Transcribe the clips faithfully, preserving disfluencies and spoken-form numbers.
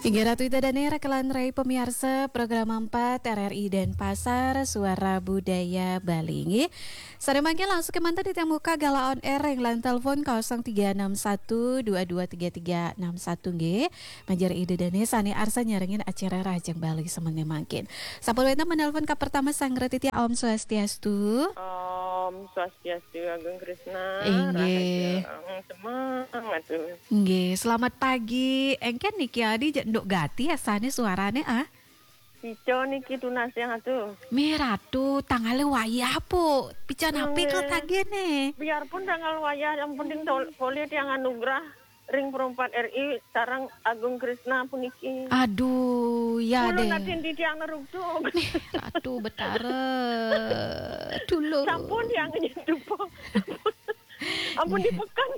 Inggih Ratu Ida Dane, rekan rai pemiarsa program empat R R I Denpasar, Suara Budaya Bali. Inggih. Sané mangkin langsung kémanten titiang muka galah on air ring line telepon kosong tiga enam satu dua dua tiga tiga enam satu nggih. Manjari Ida Dane sané arsa nyarengin acara Rahajeng Bali sané mangkin. Sampun wénten menelpon ka pertama sang Ratu Tia, Om Swastiastu. Om Swastiastu, Agung Krisna. Inggih. Rahajeng, semangat tuh. Nggih, selamat pagi. Éngkén niki adi jek nduk gati asané suarané, ah. Pica niki tunas yang atuh. Mih Ratu, tangalé wayah, Pu. Pica napi kok tagihné? Biarpun tanggal wayah, yang penting tol-, polih tiang anugerah ring Perempat R I sareng Agung Krisna puniki. Aduh, ya kula deh. Natin titiang neruktuk. Mih Ratu Betara. Dulu. Sampun tiang nyedupa. Ampun dipeken.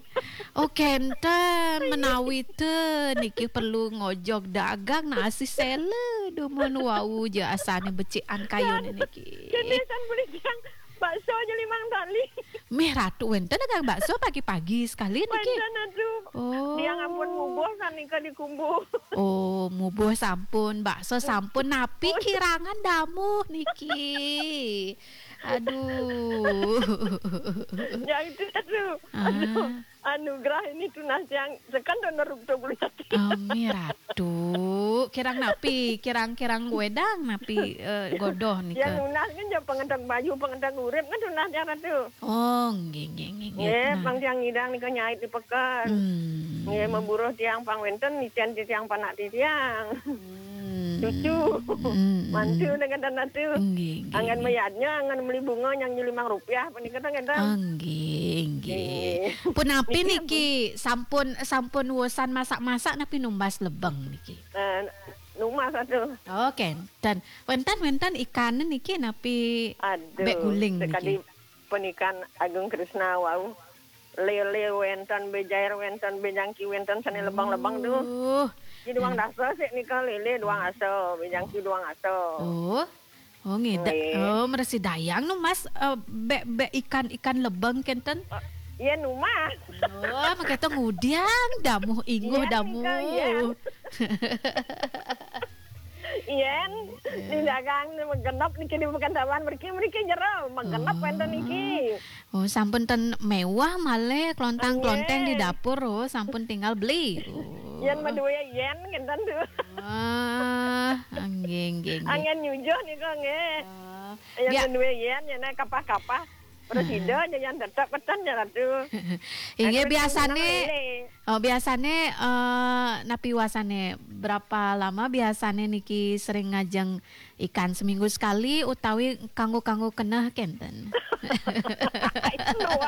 Oh, kénten menawi té niki perlu ngojog dagang nasi sela dumun wau ja asané becikan kayuné niki. Kéné san beli tiang bakso aja limang tali. Mih Ratu wénten dagang bakso pagi-pagi sekali niki. Wénten aduh. Oh. Tiang ampun mubuh sanika dikumbuh. Oh, mubuh sampun, bakso sampun, napi kirangan damuh niki. Aduh. Ya itu aduh. Ah. Aduh. Anugerah ini tunas yang sekan dan neruk tu beli hati. Ami Ratu, kirang napi, kirang-kirang wedang napi, eh, godoh nika. Yang nunas kan jauh pengentang baju, pengentang urip kan tunas yang Ratu. Oh, nggih, nggih, nggih, nggih. Nggih, nah. Pang tiang ngidang nika nyait di peken. Hmm. Nggih, memburuh tiang pang wénten, licén tiang panak tiang. Hmm. Cucu. Hmm, hmm. Mantu dengan Ratu. Nggih, nggih, anggan nggih. Mayadnya, anggan beli bunga yang limang rupiah, panika tang ngénten. Ah, nggih, nggih. Nggih. Punapi niki, niki ampun, sampun, sampun wusan masak-masak napi numbas lebeng niki? Eh, numbas atuh. Oh, kénten. Wénten, wénten ikan niki napi aduh, bék guling niki? Sekadi penikan Agung Krisna wau. Lélé wénten, bé jair wénten, bé jangki wénten, sané lebeng-lebeng tuh. Uh. Di duang dasa sik nika lélé duang asa, bé jangki duang asa. Oh. Oh, ngidang. Nggih. Oh, mresi dayang numbas, eh, bék, bék ikan, ikan lebeng kénten. Eh, iya numbas. Oh, mangkéto ngudiang damuh inguh damuh. Iya, nika, iya. Yén di dagang magenep niki di Pekanbaran mriki, mriki jero magenep wénten niki. Oh, sampun ten méwah malih klontang-klonteng di dapur, oh, sampun tinggal beli. Oh. Yén madué yén ngénten tuh. Ah, nggih, nggih, nggih. Angén nyujuh nika nggih. Ah. Yén madué yén, yén kapah-kapah. Prasida aja yang tetep peten ya Ratu. Inggih, biasané, oh, biasané, eh, napi wasané berapa lama biasané niki sering ngajeng ikan seminggu sekali utawi kanggo-kanggo keneh kénten? Itu loh,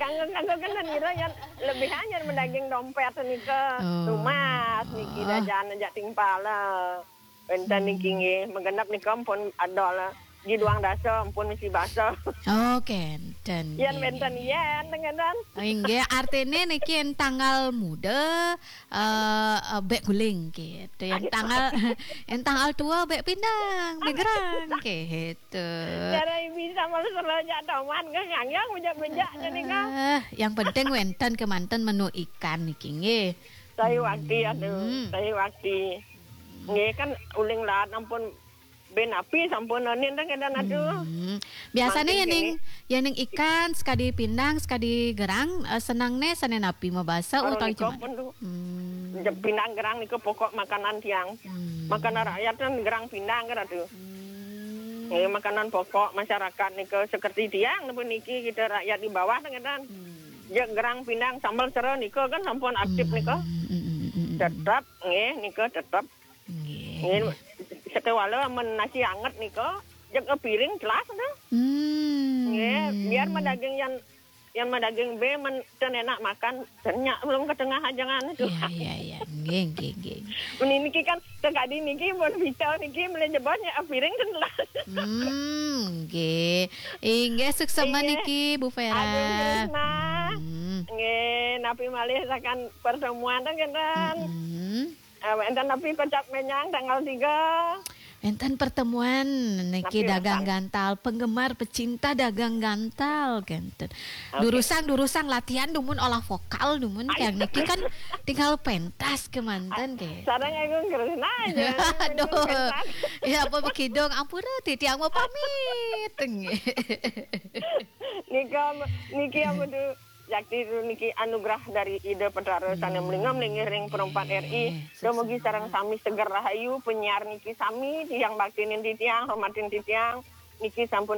kanggo-kanggo keneh nira yang lebih hanya mendaging dompét nika. Oh. Tumas niki dajan aja timpal. Wénten niki nggih, magenep nika ampun adol. Di duang dasa ampun misi basa. Oh, kénten. Yén wénten yén, ngénten. Inggih, artiné niki yén tanggal muda, eh, eh, bék guling gitu. Yén tanggal, yén tanggal tua bék pindang, bék gerang gitu. Cara bisa malah selalu jak toman, kan ngangyang bejak-bejak jadi kan. Eh, yang penting wénten kémanten menu ikan niki nggih. Saya wakti, aduh, saya wakti. Nggih, kan uling laat ampun ben api sampun anin teng kénten, aduh. Hmm. Biasané yén ning, yén ning ikan sekadi pindang, sekadi gerang, eh, senengné sané napi mabasa utawi nika cuman? Pun tuh. Hmm. Pindang gerang nika pokok makanan tiang. Hmm. Makanan rakyat kan gerang pindang kan, aduh. Hmm. Nggih, makanan pokok masyarakat nika seperti tiang napa niki kita rakyat di bawah teng kénten. Hmm. Ya gerang pindang sambel sera nika kan sampun aktif nika. Hmm, hmm, hmm, hmm, hmm. Tetep nggih nika tetep. Nggih. Nggih, sekewala men nasi anget nika, jeg piring telas dah. Hmm. Nggih, biar mah daging yang, yang mah daging bé men ten enak makan, ten nyak belum ke tengah ajangan itu. Iya, iya, iya. Nggih, nggih, nggih. Men niki kan sekadi niki pun bisa niki meli jebos nyak piring ten telas. Hmm, nggih. Inggih, suksema niki Bu Vera. Agung Krisna. Hmm. Nggih, napi malih sakan pertemuan ten kénten. Hmm. Eh, wénten napi kocap menyang tanggal tiga? Enten pertemuan niki Tapi dagang urusan. Gantal, penggemar pecinta dagang Gantal kenten. Oke. Durusang durusang latihan dumun olah vokal dumun Ayo. kayak niki kan tinggal pentas kemanten ke. Sareng aku ngeres aja. Aduh. Ya apa bekidung ampura titiang mau pamit. Nika niki apa tuh? Jakti itu niki anugerah dari Ida Petara sané melingam linggih ring perempat R I. Dumugi sareng sami seger rahayu penyiar niki sami tiang baktinin titiang hormatin titiang niki sampun